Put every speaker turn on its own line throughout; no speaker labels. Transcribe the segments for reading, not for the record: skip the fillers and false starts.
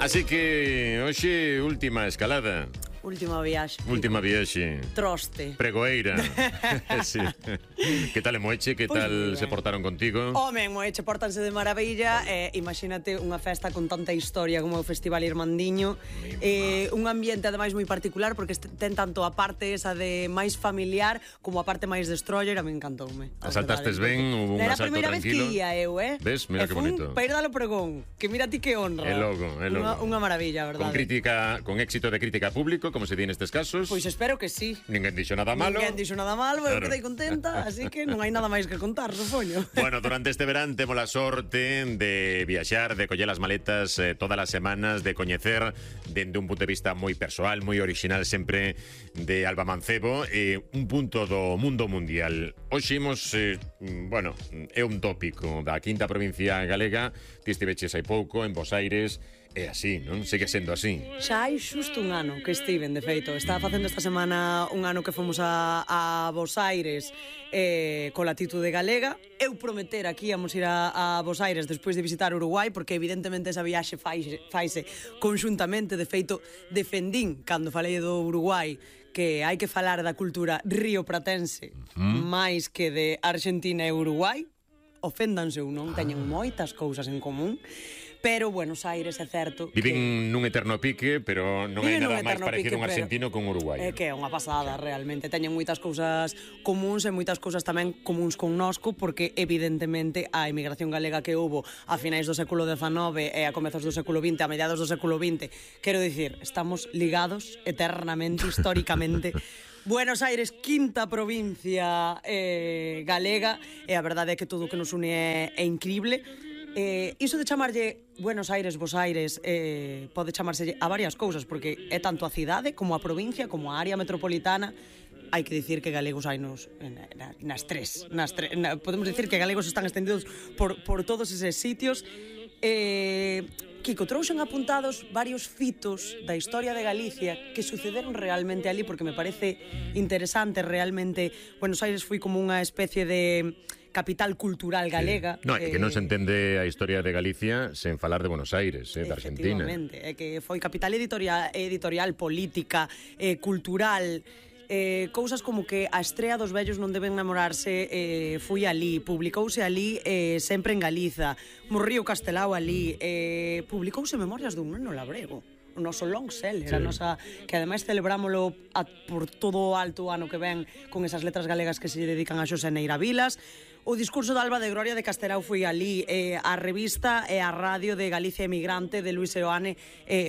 Así que, hoxe, última escalada.
Última viaxe.
Última viaxe.
Troste.
Pregoeira. Sí. Que tal en Moeche? Que
Pois
tal se portaron contigo?
Home, en Moeche portanse de maravilla. Imagínate unha festa con tanta historia como o Festival Irmandiño. Un ambiente, ademais, moi particular porque ten tanto a parte esa de máis familiar como a parte máis destroyer. A mí encantoume.
Asaltastes ben? Hubo un
Era a
asalto
primeira vez que
tranquilo?
ia eu,
Ves? Mira que bonito.
Para ir dalo pregón. Que mira ti que honra.
É logo.
Unha maravilla, verdade?
Con éxito de crítica público, como se di nestes casos.
Pois espero que sí.
Ninguén dixo nada malo.
Ninguén dixo nada malo, eu
Claro.
quedei contenta, así que non hai nada máis que contar, supoño.
Bueno, durante este verán temos a sorte de viaxar, de coller as maletas todas as semanas, de coñecer dende un punto de vista moi persoal, moi original sempre de Alba Mancebo, un punto do mundo mundial. Hoxe imos, bueno, é un tópico da quinta provincia galega, ti estiveches hai pouco en Bos Aires. É así, non? Segue sendo así.
Xa hai xusto un ano que estiven, de feito. Estaba facendo esta semana un ano que fomos a Bos Aires coa latitude galega. Eu prometera que íamos ir a Bos Aires despois de visitar Uruguai, porque evidentemente esa viaxe faise conxuntamente. De feito, defendín, cando falei do Uruguai, que hai que falar da cultura riopratense máis que de Argentina e Uruguai. Oféndanse ou non, teñen moitas cousas en común. Pero Buenos Aires é certo
Viven nun eterno pique, pero non hai nada máis parecido un argentino con un uruguayo.
É que é unha pasada, realmente. Teñen moitas cousas comuns e moitas cousas tamén comuns con nosco, porque evidentemente a emigración galega que houbo a finais do século XIX e a comezos do século XX, a mediados do século XX, quero dicir, estamos ligados eternamente, históricamente. Buenos Aires, quinta provincia galega, e a verdade é que todo o que nos une é increíble. Iso de chamarlle Buenos Aires, Bos Aires, pode chamarse a varias cousas, porque é tanto a cidade como a provincia, como a área metropolitana. Hai que dicir que galegos hai nas tres. Podemos dicir que galegos están extendidos por todos eses sitios. Kiko, trouxen apuntados varios fitos da historia de Galicia que sucederon realmente ali, porque me parece interesante. Realmente Buenos Aires foi como unha especie de capital cultural galega.
No, é que non se entende a historia de Galicia sen falar de Buenos Aires, de Argentina.
Efectivamente, é que foi capital editorial, política, cultural. Cousas como que a estrea dos vellos non deben namorarse foi ali, publicouse ali sempre en Galiza, Morrío Castelao ali, publicouse Memorias dun neno labrego, o noso long seller, a nosa, que ademais celebrámolo por todo o alto ano que ven con esas letras galegas que se dedican a Xosé Neira Vilas. O discurso de Alba de Gloria de Castelao foi ali, a revista e a radio de Galicia Emigrante de Luis Seoane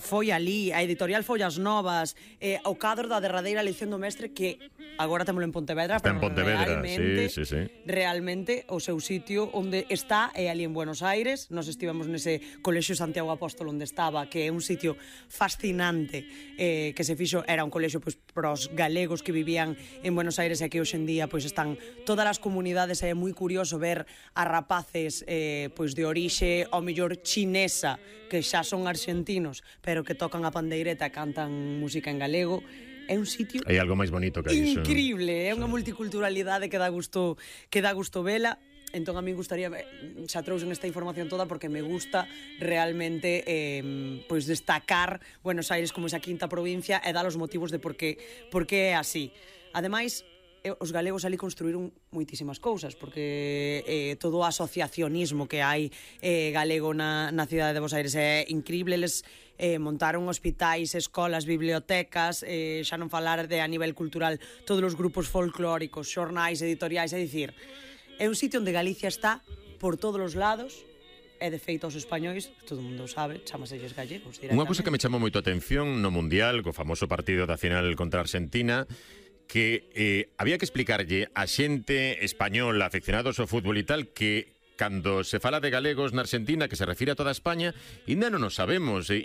foi ali, a editorial Follas Novas, o cadro da derradeira lección do mestre, que agora témolo en Pontevedra,
está en Pontevedra, sí.
Realmente o seu sitio onde está é ali en Buenos Aires. Nos estivemos nese colexio Santiago Apóstolo onde estaba, que é un sitio fascinante, que se fixo, era un colexio pois para os galegos que vivían en Buenos Aires, e que hoxe en día pois están todas as comunidades. É moi curioso ver a rapaces pois de orixe ao mellor chinesa, que xa son argentinos, pero que tocan a pandeireta e cantan música en galego. É un sitio
hai algo máis bonito que iso,
increíble, é unha multiculturalidade que dá gusto vela. Entón a mí gustaría, xa trouxen esta información toda porque me gusta realmente pois destacar Buenos Aires como esa quinta provincia e dar os motivos de por que é así. Ademais, os galegos ali construíron moitísimas cousas, porque todo o asociacionismo que hai galego na cidade de Bos Aires é increíble. Eles montaron hospitais, escolas, bibliotecas, xa non falar de a nivel cultural, todos os grupos folclóricos, xornais, editoriais, é dicir, é un sitio onde Galicia está por todos os lados. E de feito os españois, todo o mundo sabe, chamaselles gallegos directamente.
Unha cousa que me chamou moito a atención no Mundial, co famoso partido da final contra Argentina, que había que explicarlle a xente española, aficionados ao fútbol e tal, que cando se fala de galegos na Argentina, que se refire a toda España, ainda non o sabemos, e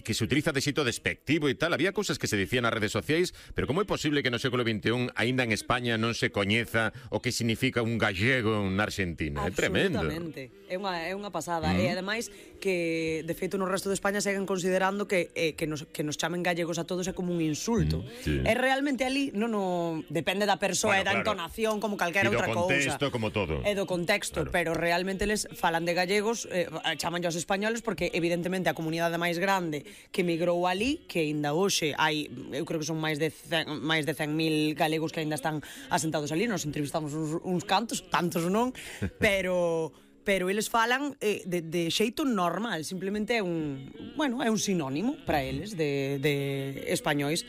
que se utiliza de xeito despectivo e tal. Había cousas que se dicían nas redes sociais, pero como é posible que no século XXI aínda en España non se coñeza o que significa un gallego na Argentina? É tremendo.
Absolutamente, é unha pasada. E ademais que, de feito, no resto de España seguen considerando que nos chamen gallegos a todos é como un insulto.
Sí.
É realmente ali, non depende da persoa e da entonación como calquera outra cousa.
E do contexto, como todo.
E do contexto,
claro.
Pero realmente realmente eles falan de gallegos, chamanlle aos españoles porque evidentemente a comunidade máis grande que migrou ali, que aínda hoxe hai, eu creo que son máis de 100.000 galegos que aínda están asentados ali, nos entrevistamos uns cantos, tantos non, pero eles falan de xeito normal, simplemente é un sinónimo para eles de españois.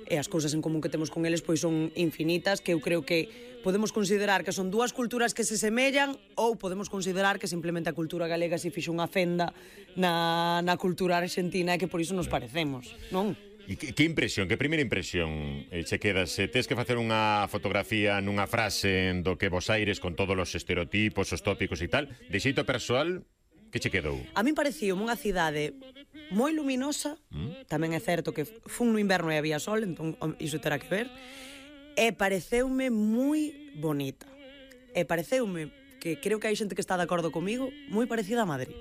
E as cousas en común que temos con eles pois son infinitas, que eu creo que podemos considerar que son dúas culturas que se semellan ou podemos considerar que simplemente a cultura galega se fixo unha fenda na cultura argentina e que por iso nos parecemos, non?
E que impresión, que primeira impresión che quedas? Tes que facer unha fotografía nunha frase do que Bos Aires con todos os estereotipos, os tópicos e tal, de xeito persoal, que che quedou?
A min parecía unha cidade moi luminosa, tamén é certo que fun no inverno e había sol, entón iso terá que ver, e pareceume moi bonita. E pareceume, que creo que hai xente que está de acordo comigo, moi parecida a Madrid.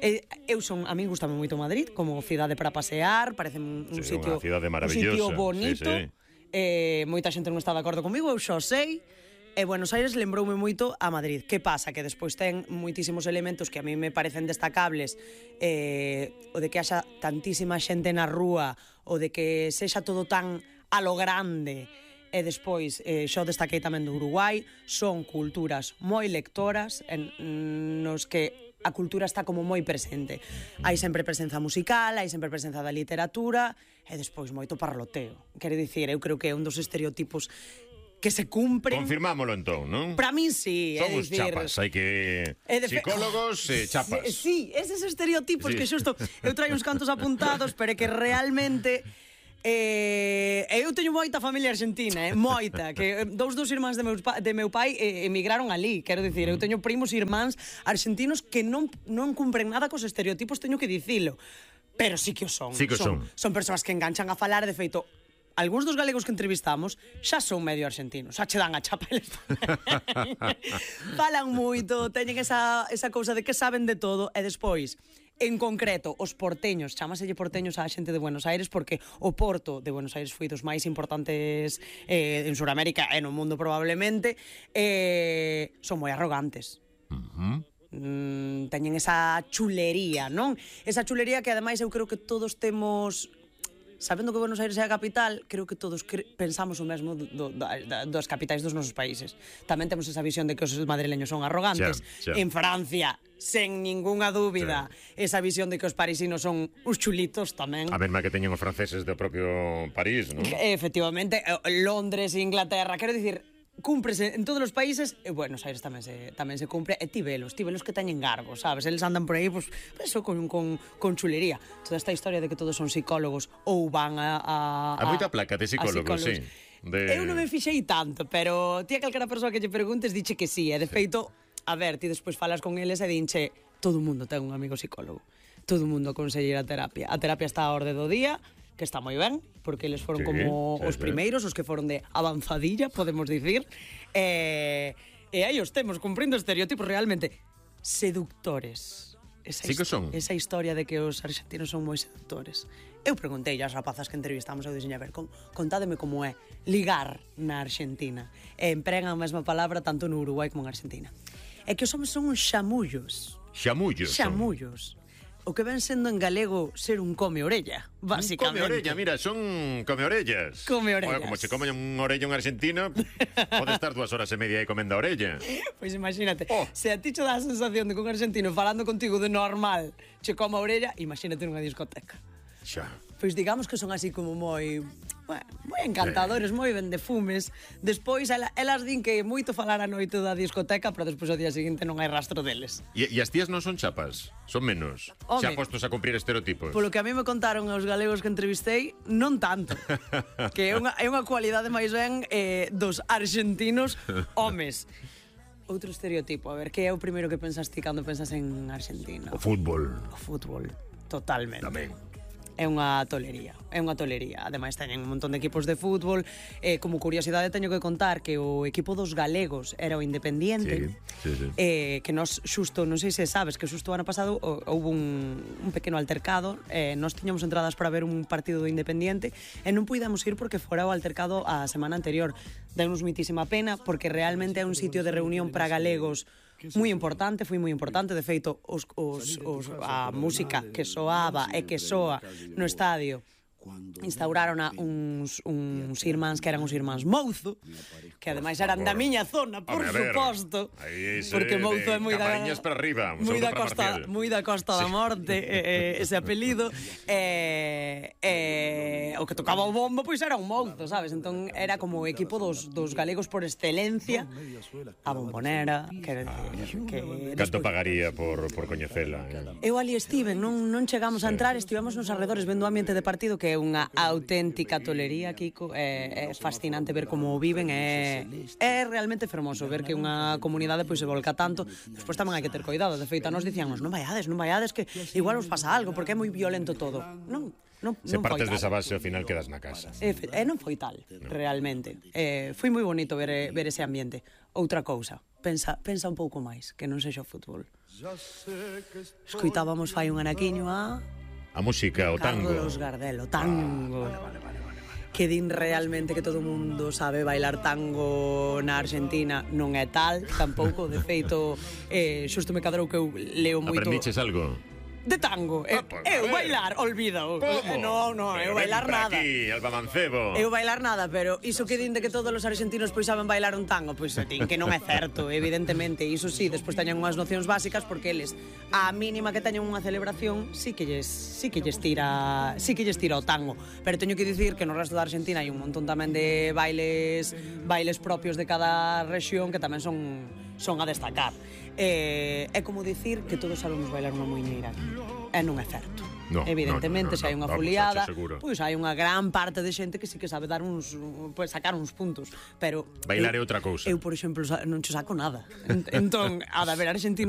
A mí gustame moito Madrid como cidade para pasear, parece un sitio bonito. Moita xente non está de acordo comigo, eu xo sei. E Buenos Aires lembroume moito a Madrid. Que pasa? Que despois ten moitísimos elementos que a mí me parecen destacables, o de que haxa tantísima xente na rúa, o de que sexa todo tan a lo grande. E despois, xo destaquei tamén do Uruguai, son culturas moi lectoras, nos que a cultura está como moi presente. Hai sempre presenza musical, hai sempre presenza da literatura, e despois moito parloteo. Quero dicir, eu creo que é un dos estereotipos que se cumpren.
Confirmámolo entón, non?
Para min sí,
son os chapas, hai que psicólogos e chapas.
Sí, eses estereotipos que xusto eu traio uns cantos apuntados, pero que realmente eu teño moita familia argentina, moita, que dos irmáns de meu pai emigraron ali, quero dicir, eu teño primos e irmáns argentinos que non cumpren nada cos estereotipos, teño que dicilo, pero sí que o son.
Sí que son.
Son persoas que enganchan a falar, de feito, algúns dos galegos que entrevistamos xa son medio argentinos, xa che dan a chapa eles falan moito, teñen esa cousa de que saben de todo. E despois, en concreto, os porteños, chámaselle porteños á xente de Buenos Aires porque o porto de Buenos Aires foi dos máis importantes en Suramérica e no mundo probablemente, son moi arrogantes. Teñen esa chulería, non? Esa chulería que ademais eu creo que todos temos. Sabendo que Buenos Aires é a capital, creo que todos pensamos o mesmo das capitais dos nosos países. Tamén temos esa visión de que os madrileños son arrogantes. En Francia, sen ningunha dúbida, esa visión de que os parisinos son uns chulitos tamén.
A mesma que teñen os franceses do propio París, non?
Efectivamente, Londres e Inglaterra, quero dicir, cúmprese en todos os países, e Buenos Aires tamén se cumpre, e tivelos que teñen garbo, sabes? Eles andan por aí, pues, eso, con chulería. Toda esta historia de que todos son psicólogos ou van a
moita placa de psicólogos, sí.
Eu non me fixei tanto, pero ti a calquera persoa que lle preguntes diche que sí, e de feito, a ver, ti despois falas con eles e dinche, todo o mundo ten un amigo psicólogo, todo o mundo aconsella ir a terapia. A terapia está a orde do día, que está moi ben, porque eles foron como os primeiros, os que foron de avanzadilla, podemos dicir, e aí os temos, cumprindo estereotipos realmente seductores.
Sí que son.
Esa historia de que os argentinos son moi seductores. Eu preguntei ás rapazas que entrevistamos, eu dixen, a ver, contádeme como é ligar na Argentina. E empregan a mesma palabra tanto no Uruguai como en Argentina. É que os homens son uns xamullos. Xamullos. O que ven sendo en galego ser un come-orella, básicamente.
Come-orella, mira, son come-orellas.
Come-orellas.
Como se come un orella un argentino, pode estar 2 horas e media aí comendo a orella.
Pois imagínate, se a ti che dá a sensación de que un argentino falando contigo de normal che come a orella, imagínate nunha discoteca.
Xa.
Pois digamos que son así como moi encantadores, moi ben de fumes. Despois, elas din que moito falar a noite da discoteca, pero despois ao día seguinte non hai rastro deles.
E as tías non son chapas? Son menos? Xa postos a cumprir estereotipos?
Polo que a mí me contaron os galegos que entrevistei, non tanto. Que é unha cualidade máis ben dos argentinos homes. Outro estereotipo, a ver, que é o primeiro que pensas ti cando pensas en Argentina?
O fútbol.
O fútbol, totalmente.
Tamén.
É unha tolería. Ademais, teñen un montón de equipos de fútbol. Como curiosidade, teño que contar que o equipo dos galegos era o Independiente.
Sí.
Que nos xusto, non sei se sabes, que xusto o ano pasado houve un pequeno altercado. Nos tiñamos entradas para ver un partido do Independiente e non puidamos ir porque fora o altercado a semana anterior. Deunos mitísima pena porque realmente é un sitio de reunión para galegos moi importante, foi moi importante. De feito, a música que soaba e que soa no estadio instauraron uns irmáns que eran os irmáns Mouzo, que ademais eran da miña zona, por suposto, porque Mouzo é moi da
Camariñas para arriba,
moi da Costa da Morte, ese apelido, o que tocaba o bombo pois era un Mouzo, sabes? Entón era como o equipo dos galegos por excelencia, a bombonera, que
Canto pagaría por coñecela?
Eu ali estiven, non chegamos a entrar, estivemos nos arredores vendo o ambiente de partido, que é unha auténtica tolería, Kiko. É fascinante ver como viven, é realmente fermoso ver que unha comunidade pois se volca tanto. Despois tamén hai que ter cuidado, de feito a nos dicíamos non vaiades, que igual os pasa algo porque é moi violento todo. Non
se partes desa base, ao final quedas na casa.
Non foi tal, realmente. Foi moi bonito ver ese ambiente. Outra cousa, pensa un pouco máis, que non sexa o fútbol. Escoitábamos fai un anaquiño
a música, o tango.
Carlos Gardel, o tango. Que din realmente que todo o mundo sabe bailar tango na Argentina. Non é tal, tampouco. De feito, xusto me cadrou que eu leo moito...
Aprendiches algo?
De tango. Eu bailar, olvídao. Non, eu bailar nada.
Aquí, Alba Mancebo.
Eu bailar nada, pero iso que din de que todos os argentinos pois saben bailar un tango, pois din que non é certo, evidentemente. Iso sí, despois teñen unhas nocións básicas porque eles, a mínima que teñen unha celebración, sí que lles tira o tango. Pero teño que dicir que no resto da Argentina hai un montón tamén de bailes propios de cada rexión que tamén son a destacar. É como dicir que todos sabemos bailar unha muiñeira. Non é certo. Evidentemente, se hai unha foliada, pois hai unha gran parte de xente que sí que sabe dar sacar uns puntos, pero
bailar é outra cousa.
Eu, por exemplo, non che saco nada. Entón, a de ver argentino